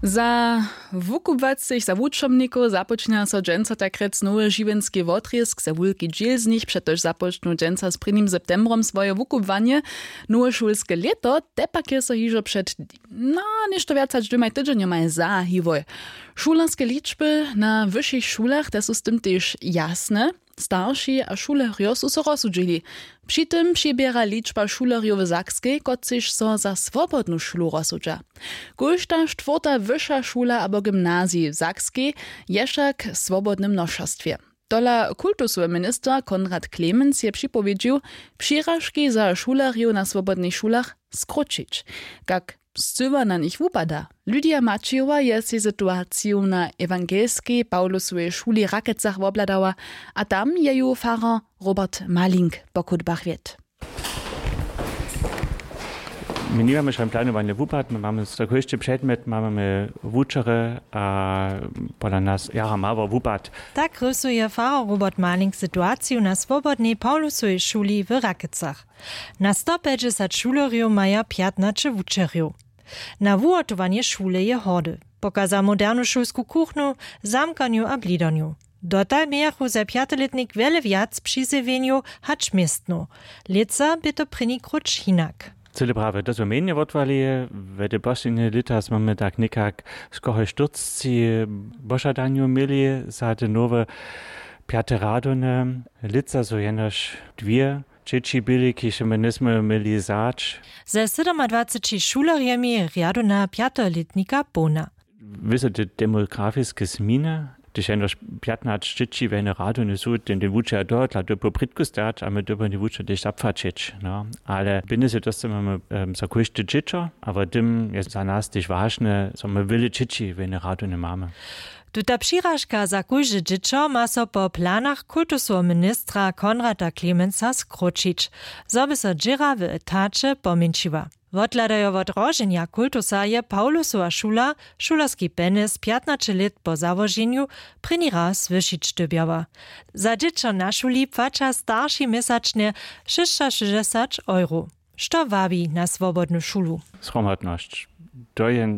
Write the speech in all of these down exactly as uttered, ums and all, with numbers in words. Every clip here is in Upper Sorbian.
Za wukubłacych, za wučomnikow započina so dźensa takrjec nowy žiwjenski wotrězk. Za wulki dźěl z nich přetož započnu dźensa z prěnim septembrom swoje wukubłanje. Nowe šulske lěto te pak je so hižo před na něšto wjac hač dwěmaj tydźenjomaj zahiłoj. Šulerske ličby na wyšich šulach te su z tym tež jasne. Starši a šulerjo su so rozsudźili. Při tym přiběra ličba šulerjow w sakskej, kotřiž so za swobodnu šulu rozsudźa. Kóžda štwórta wyša šula abo gymnazij w sakskej je wšak w swobodnym nošerstwje. Tola kultusowy minister Konrad Clemens je připowědźił, přiražki za šulerjow na swobodnych šulach skróćić. Kak scyła na nich wupada? Lydia Maćijowa je sej situaciju na ewangelskej Pawlusowej šuli w Rakecach wobhladała, a tam je ju farar Robert Malink po chódbach wjedł. My nimamy šan planowany wupad, my mamy za kóždy předmjet mamy wučerje a pola nas jara mało wupad. Tak rysuje farar Robert Malink situaciju na swobodnej Pawlusowej šuli w Rakecach. Na stopjećdźesat šulerjow maja pjatnaće wučerjow. Na wuhotowanje šule je hordy. Pokaza modernu šulsku kuchnu, zamkanju a blidarnju. Dotal mějachu za pjatolětnik wjele wjac přizjewjenjow hač městnow. Lětsa bě to prěni króć hinak. Cyle prawje, to su mjenje wotwali. We te poslednje lěta smy my tak někak skoro štyrcci požadanjow měli za te nowe pjate radowne. Lětsa su jenož dwě dźěći byli, kiž my njejsmy měli wzać. Ze sydomadwaceći šulerjemi rjadowna pjatolětnika połna. Wězo te demografiske změny, hdyž jenož pjatnaće dźěći w jednej radowni su, ten ten wučer dohotla to po prědku stać a my dyrbimy ten wučer tež zapłaćić, no. Ale pjenjezy dóstajemy za kóžde dźěćo a wo tym je za nas tež wažne, zo my wjele dźěći w jednej radowni mamy. Tuta přiražka za kóžde dźěćo ma so po planach kultusoweho ministra Konrada Klemensa skróćić, zo by so dźěra w etaće pomjeńšiła. Wothladajo wot roženja kultusa je Pawlusowa šula šulerski pjenjez pjatnaće lět po załoženju prěni raz wyšić dyrbjała. Za dźěćo na šuli płaća starši měsačnje šěsćašěsćdźesat euro. Što wabi na swobodnu šulu? Zhromadnosć. To je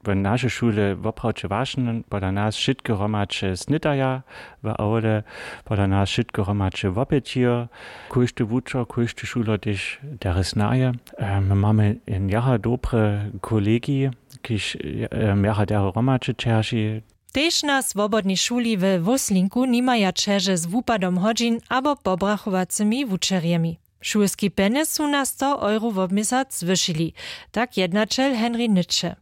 w našej šule woprawdźe wažne. Pola nas wšitke hromadźe snědaja w awle, pola nas wšitke hromadźe wopytijo. Kóždy wučer, kóždy šuler tež derje snaje. My mamy jen jara dobry kolegij, kiž jara derje hromadźe ćerži. Tež na swobodnej šuli we Wóslinku nimaja ćeže z wupadom hodźin abo pobrachowacymi wučerjemi. Šulski pjenjez su na sto euro wobměsac zwyšili, tak jednaćel Henri Nytše.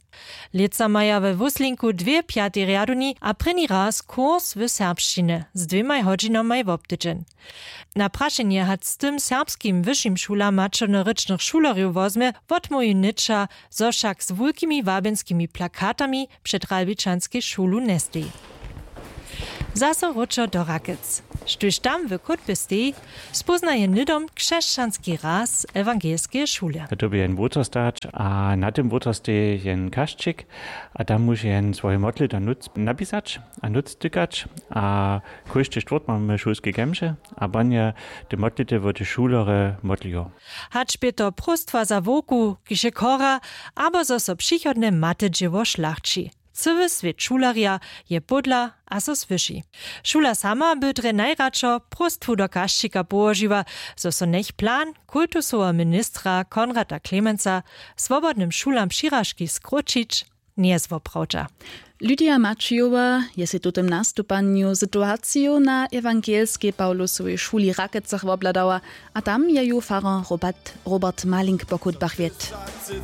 Lětsa maja we Wóslinku dwě pjatej rjadowni a prěni raz kurs w serbšćinje z dwěmaj hodźinamaj wobtydźeń. Na prašenje, hač z tym serbskim wyšim šulam maćernorěčnych šulerjow wozmje, wotmołwi Nytša, zo wšak z wulkimi wabjenskimi plakatami před Ralbičanskej šulu njesteji. Zaso wróćo do Rakec. Štóž tam w kótbje steji, spóznaje hnydom křesćanski raz ewangelskeje šule. To by jen wotor stać a na tym wotor steji jen kašćik a tam móže jen swoje modlity napisać a nutř tykać. A kóždy štwórtk mamy šulske kemše a banje te modlity wot te šulerje modlijo. Hač bě to próstwa za wowku, kiž je chora, abo zo so přichodne matydźěło šlachći. Cyły swět šulerja je pódla a so słyši. Šula sama by drje najradšo próstwu do kašćika połožiła, zo so njech plan kultusoweho ministra Konrada Klemensa swobodnym šulam přiražki skróćić njezwoprawdźa. Lydia Maćijowa je sej w tutym nastupanju situaciju na ewangelskej Pawlusowej šuli w Rakecach wobhladała a tam je ju farar Robert, Robert Malink po chódbach wjedł.